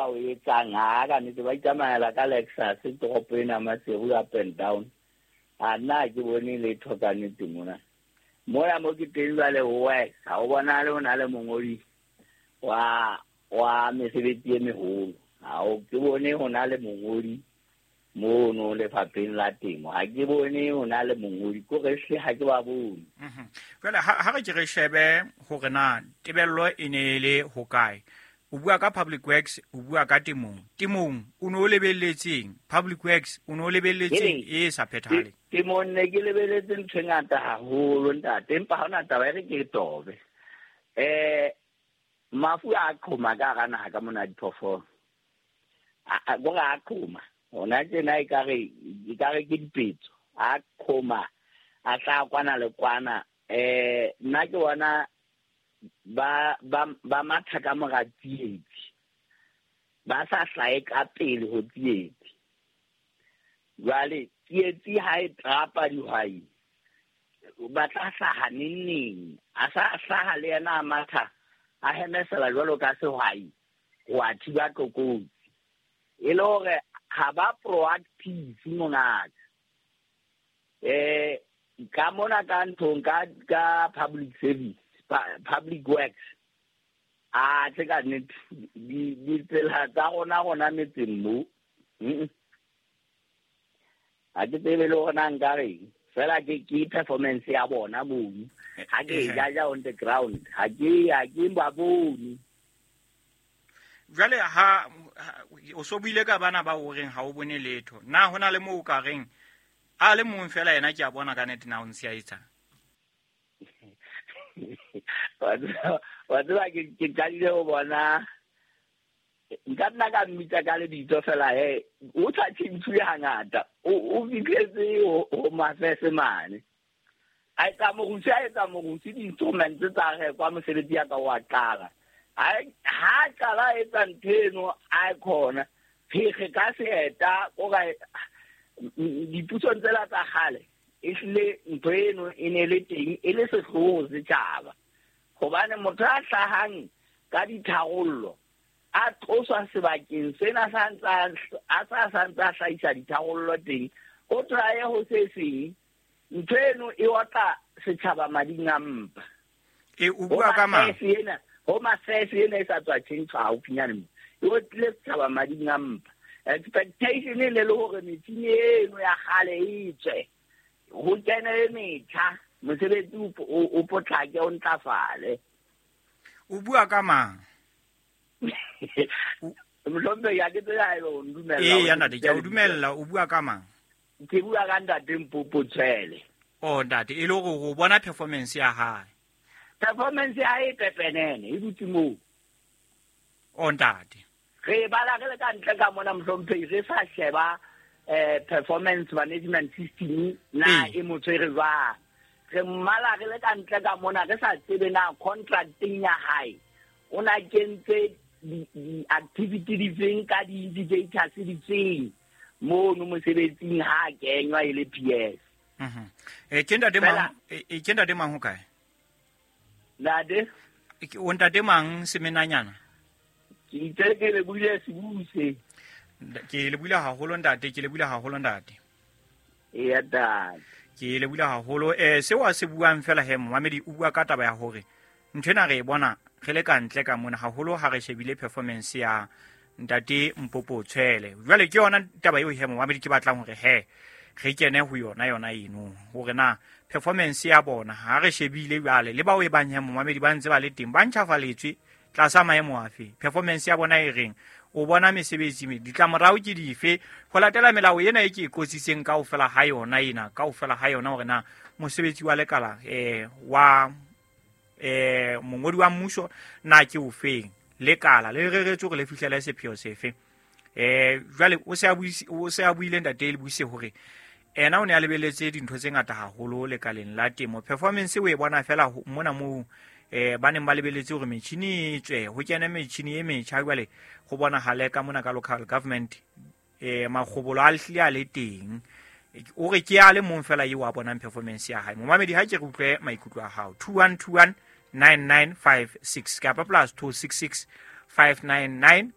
ba o etsang ha ka nnete ba itsamaela ka Lexus toropo ena Maseru up and down. A nna ha ke bone letho ka nnete mona. Mona mo ke teng jwale ho worse, ha o bonahale ho na le mongodi wa mesebetsi e meholo. Ha o ke bone ho na le mongodi mono lefapheng la temo. Ha ke bone ho na le mongodi, ko re hle ha ke ba bone. Jwale ha re ke re shebe hore na tebello e ne e le hokae. O bua ka public works, o bua ka temong. Temong o ne o lebelletseng? Public works o ne o lebelletseng e sa phethahale? Temong ne ke lebeletse ntho e ngata haholo ntate, empa ha hona taba e re ke e tobe. Mafu a qhoma ka hara naha ka mona diphoofolo. Kore a qhoma. Hona tjena ekare ke dipetso. A qhoma, a tla kwana le kwana. Nna ke bona ba matha ka mora tsietsi. Ba sa hlahe ka pele ho tsietsi. Jwale tsietsi ha e trapa dihwai, ba tla hlaha neng neng. A sa hlaha le yena a matha, a hemesela jwalo ka sehwai ho a thiba tlokotsi. E le hore ha ba proactive mongaka. Ka mona ka nthong ka public service, public works, a tse ka nnete, ditsela tsa rona metseng mo. Ha ke tsebe le hore na nka reng. Fela ke performance ya bona mono. Ha ke e jaja on the ground, ha ke ba bone. Jwale ha o so buile ka bana ba o reng ha o bone letho. Na hona le moo o ka reng a le mong fela yena ke a bona ka nnete na o ntse a etsang? Wa tseba ke qadile ho bona, nka nna ka mmitsa ka lebitso fela he, o sa tjhentjhuwe hangata, o fihletse ho mafese mane. A etsa morusi, a etsa morusi, di-instruments tsa rekwa, mosebetsi ya ka wa qala. Ha qala a etsa ntho eno, a e khona. Phekge ka seeta, o ka dipusong tsela tsa kgale, ehlile ntho eno e ne le teng, e le sehloho setjhaba. Hobane motho a hlahang ka ditharollo, a tloswa sebakeng sena sa ntsa, a sa sa ntsa hlahisa ditharollo teng, o tla ye ho se seng. Ntho eno e otla setjhaba mading a mpa. O bua ka mang? Home Affairs ena e sa tswa tjhentjhwa haufinyane mo. E otlile setjhaba mading a mpa. Expectation e ne le hore metjhini eno ya kgale e tswe, ho kene e metjha, mosebetsi o potlake, o ntlafale. O bua ka mang? Mohlompheki, ha ke tsebe haeba o ndumella Ee, hore ya ntate, ke a o ke dumella. O bua ka mang? Ke bua ka ntate Mpopo Tshwele. Oh, ntate, e le hore o bona performance ya hae. Performance ya hae e pepenene, e dutse moo. Oh, ntate. Re bala re le ka ntle ka mona mohlompheki, re sa sheba performance management system na e mo tshwere jwang. Re mmala re le ka ntle ka mona, re sa tsebe na contracting ya hae o na kentse di-activity difeng ka di-indicators difeng mono mosebetsing ha a kenywa e le PS. Ke ntate Fela mang? Ke ntate mang hokae? Ntate? Ke o ntate mang semenanyana? Ke itse ke le buile sebuse. Ke le buile haholo ntate, ke le buile haholo ntate. Eya, ntate. Ke le buile haholo. Seo a se buang fela he, momamedi o bua ka taba ya hore nthwena re e bona re le ka ntle ka mona haholo ha re shebile performance ya ntate Mpopo Tshwele. Jwale ke yona taba eo he momamedi ke batlang hore he re kene ho yona yona eno, hore na performance ya bona ha re shebile jwale le bao e bang he momamedi ba ntse ba le teng ba ntjhafaletswe tlasa maemo afe, performance ya bona e reng, o bona mesebetsi me ditlamorao ke dife ho latela melao ena e ke e qotsitseng kaofela ha yona ena, kaofela ha yona hore na mosebetsi wa lekala, wa, mongodi wa mmuso na ke ofeng, lekala le reretswe hore le fihlele sepheo sefe. Jwale o se a buise, o se a buile ntate le buise hore ena o ne a lebeletse dintho tse ngata haholo lekaleng la temo. Performance o e bona fela mona moo, ba neng ba lebeletse hore metjhini e tswe, ho kene metjhini e metjha, jwale ho bonahale ka mona ka local government, makgobolo a hlile a le teng. O re ke a le mong fela eo a bonang performance ya hae. Momamedi, ha ke re utlwe maikutlo a hao. 2121 9956 kapa plus 266 599